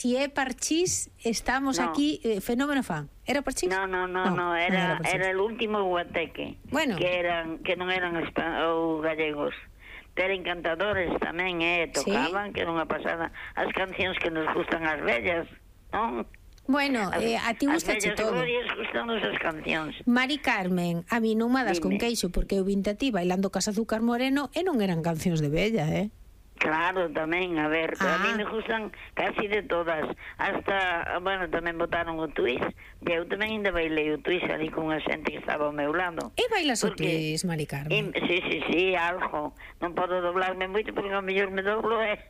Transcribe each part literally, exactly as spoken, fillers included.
Si é Parchís, estamos no. aquí, eh, fenómeno fan. Era Parchís? No, no, no, no, no era, no era, era el último guateque. Bueno. Que eran que non eran ou gallegos. Pero encantadores tamén, eh, tocaban, ¿sí? Que era unha pasada. As cancións que nos gustan as vellas, non? Bueno, as, eh, a ti gustache todo. As vellas gustan as cancións. Mari Carmen, a mí non me das con queixo, porque eu vinte a ti bailando Cas Azúcar Moreno e non eran cancións de vella, eh? Claro, tamén, a ver, ah. a mí me gustan casi de todas. Hasta, bueno, tamén botaron o twist, e eu tamén ainda bailei o twist ali con a xente que estaba ao meu lado. E bailas o twist, Mari Carmen? E, sí, sí, sí, algo. Non podo doblarme moito porque ao mellor me doblo, eh.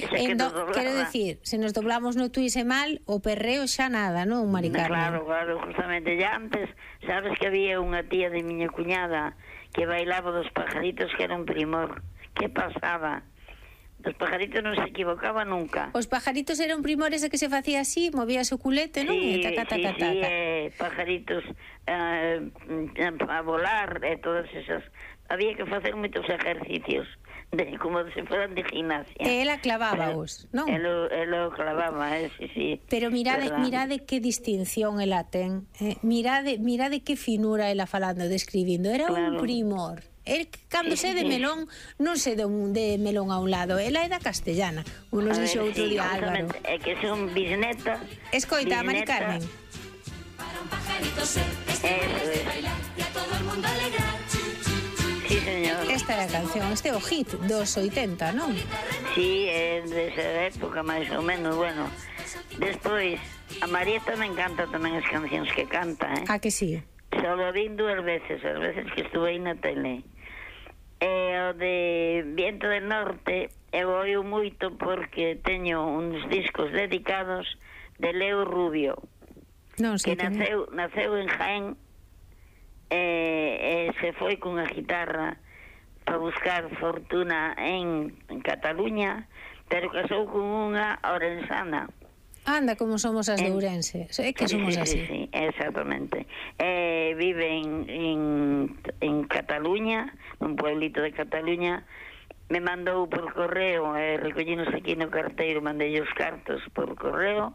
Endo, que quero decir, se nos doblamos no twist e mal, o perreo xa nada, non, Mari Carmen? Claro, claro, justamente ya antes, sabes que había unha tía de miña cuñada que bailaba dos pajaritos que era un primor. Que pasaba? Os pajaritos non se equivocaba nunca. Os pajaritos eran primores de que se facía así, movías o culete, non? Sí, e taca, taca, sí, taca. sí, eh, pajaritos eh, a volar, e eh, todas esas. Había que facer moitos ejercicios, de, como se fueran de gimnasia. E ela clavábaos, non? Elo, elo clavaba, eh, sí, sí. Pero mirade, mirade que distinción ela ten. Eh, mirade, mirade que finura ela falando, describindo. Era claro. Un primor. El, cando sí, se de melón, non se de, un, de melón a un lado. Ela é da castellana. Unos dixo outro sí, día, Álvaro. É que son bisneta. Escoita, Mari Carmen. Para un pajarito ser, este es bailar y a todo el mundo alegrar. Sí, señor. Esta é a canción, este é o hit dos oitenta, non? Sí, é desa época, máis ou menos, bueno. Despois, a Marieta me encanta tamén as cancións que canta, eh? Ah, que sí? Solo vin dúas veces, as veces que estuve aí na tele. E o de Viento del Norte eu oio moito porque teño uns discos dedicados de Leo Rubio, non, que naceu, naceu en Jaén e, e se foi cunha guitarra para buscar fortuna en, en Cataluña, pero casou con unha orensana. Anda, como somos as de Ourense. É que somos sí, así. Sí, sí, exactamente. Eh, vive en, en, en Cataluña, nun pueblito de Cataluña. Me mandou por correo, eh, recollinos aquí no carteiro, mandei os cartos por correo.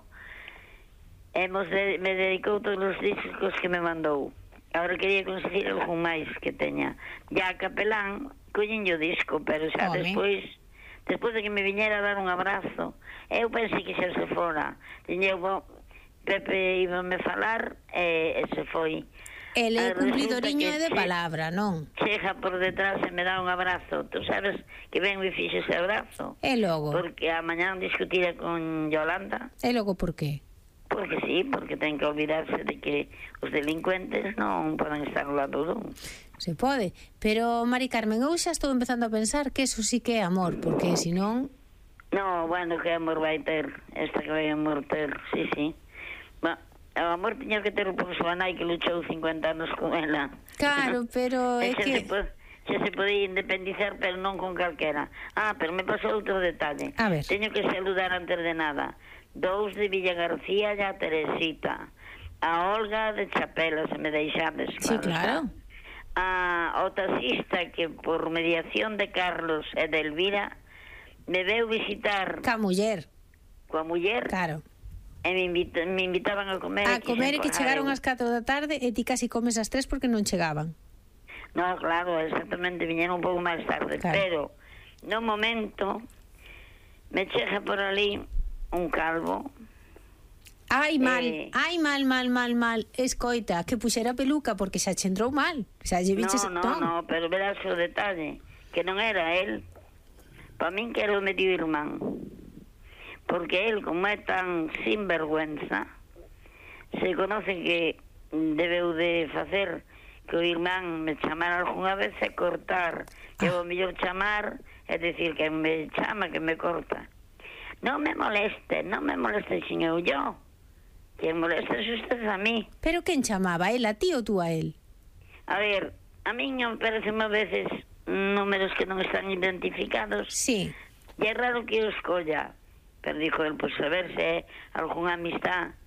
Hemos de, me dedicou todos os discos que me mandou. Agora quería conseguir algún máis que teña. Ya a capelán, collenlle o disco, pero xa Home. despois... Despois de que me viñera a dar un abrazo, eu pensei que xa se fora. Tiñeu, Pepe íbame falar e, e se foi. Ele é cumplidoriño de palabra, non? Chega por detrás e me dá un abrazo. Tú sabes que ben me fixe ese abrazo. E logo? Porque a mañán discutira con Yolanda. E logo por qué? Porque sí, porque ten que olvidarse de que os delincuentes non poden estar ao lado dun. Se pode, pero Mari Carmen, eu xa estou empezando a pensar que eso sí que é amor, porque senón... No, bueno, que amor vai ter, esta que vai amor ter, sí, sí. Bueno, o amor tiña que ter por súa nai que luchou cincuenta anos con ela. Claro, pero é xa que... Se po, xa se podía independizar, pero non con calquera. Ah, pero me pasou outro detalle. A ver. Teño que saludar antes de nada. Dous de Villa García e a Teresita. A Olga de Chapela, se me deixades. Sí, claro. A, o taxista que por mediación de Carlos e de Elvira me veu visitar ca muller coa muller, claro, e me, invita, me invitaban a comer a comer e que chegaron ás catro da tarde e ti casi comes ás tres porque non chegaban. No, claro, exactamente, viñeron un pouco máis tarde, claro. Pero no momento me chega por ali un calvo. Ai, mal, eh, ai, mal, mal, mal, mal. Escoita, que puxera peluca porque xa che entrou mal. Xa lle biches... No, no, no, pero verás o detalle, que non era él. Pa min que era o medio irmán. Porque él, como é tan sinvergüenza, se conoce que debeu de facer que o irmán me chamara algunha vez e cortar. Que ah. o mellor chamar, é dicir, que me chama, que me corta. Non me moleste, non me moleste, xin eu yo. Quen molesta é usted a mí. Pero quen chamaba, el a ti ou tú a él? A ver, a mí me parecen a veces números que non están identificados. Sí. E é raro que eu escolla. Pero dijo el, pues a ver se algunha amistad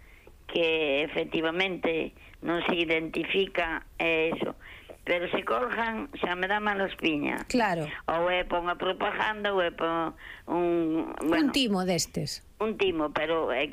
que efectivamente non se identifica, é eso. Pero se colgan, xa me dá mala espiña. Claro. Ou é pa unha propaganda, ou é pa un... Bueno, un timo destes. Un timo, pero é